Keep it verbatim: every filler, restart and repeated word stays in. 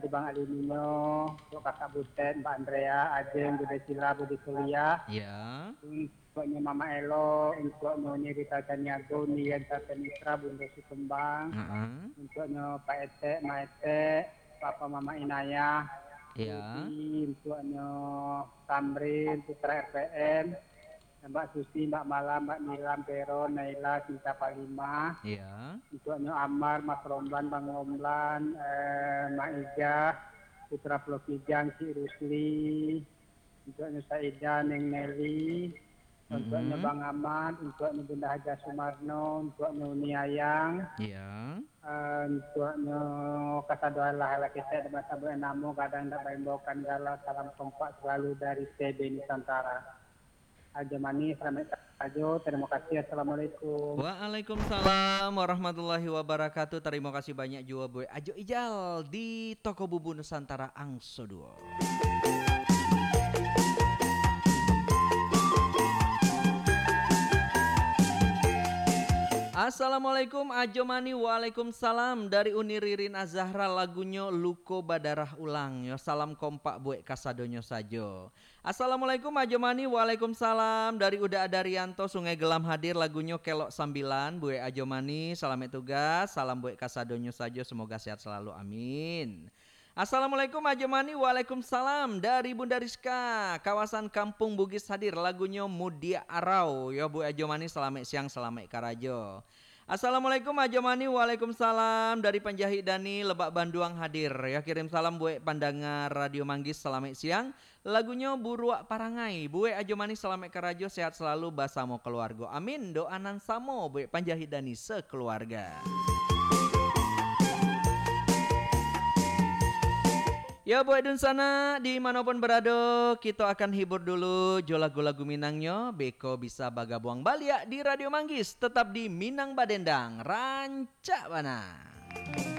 Bang Aliminyo, untuk Kakak Butet, Mbak Andrea, Ajeng, Bude Sila, Bude Suliah. Ya. Untuaknyo Mama Elo, untuaknyo Uni Rita Caniago, Uni Yenta Penitra, Bunda Sikumbang. Heeh. Untuaknyo Pak Etek, Ma Etek, Papa Mama Inayah. Ya. Budi, untuaknyo Tamrin, Putra R P M. Mbak Susi, Mbak Malam, Mbak Nilam, Peron, Naila, Sinta Palima. Ya. Untuaknyo Amar, Mas Romlan, Bang Romlan, eh, Mak Ijah, Putra Pulau Kijang, Cik Rusli. Untuaknyo Saida, Neng Nelly. Untuaknyo Mm-mm. Bang Amat, untuaknyo Bunda Hajah Sumarno, untuaknyo Uni Ayang. Ya. Eh, untuaknyo kasadoan lah, lah kita ada masa buat namo, kadang tak baimbaukan gala, salam kompak selalu dari T B Nusantara. Ajo Manih, selamat Ajo, terima kasih, assalamualaikum. Waalaikumsalam warahmatullahi wabarakatuh. Tarimo kasih banyak juo buek Ajo Ijal di Toko Bubu Nusantara Angso Duo. Assalamualaikum Ajo Manih. Waalaikumsalam, dari Uni Ririn Azahra, lagunyo Luko Badarah Ulang. Yo, salam kompak buek kasadonyo sajo. Assalamualaikum Ajo Manih. Waalaikumsalam. Dari Uda Adarianto, Sungai Gelam hadir, lagunyo Kelok Sambilan. Buek Ajo Manih, salamaik tugas. Salam buek kasadonyo sajo, semoga sehat selalu. Amin. Assalamualaikum Ajo Manih. Waalaikumsalam. Dari Bunda Rizka, kawasan Kampung Bugis hadir, lagunyo Mudiak Arau. Yo, buek Ajo Manih, salamaik siang, salamaik karajo. Assalamualaikum Ajo Manih. Waalaikumsalam. Dari Panjahik Dani, Lebak Banduang hadir. Yo, kirim salam buek pandanga Radio Manggis, salamaik siang. Lagunyo Buruak Parangai. Buek Ajo Manih, salamaik karajo, sehat selalu basamo keluargo. Amin. Doa nan samo buek Panjahik Dani sekeluarga. Yo, buek dunsanak, di mano pun barado, kito akan hibur dulu jo lagu-lagu Minangnyo, beko bisa bagabuang baliak di Radio Manggis, tetap di Minang Badendang, rancak bana.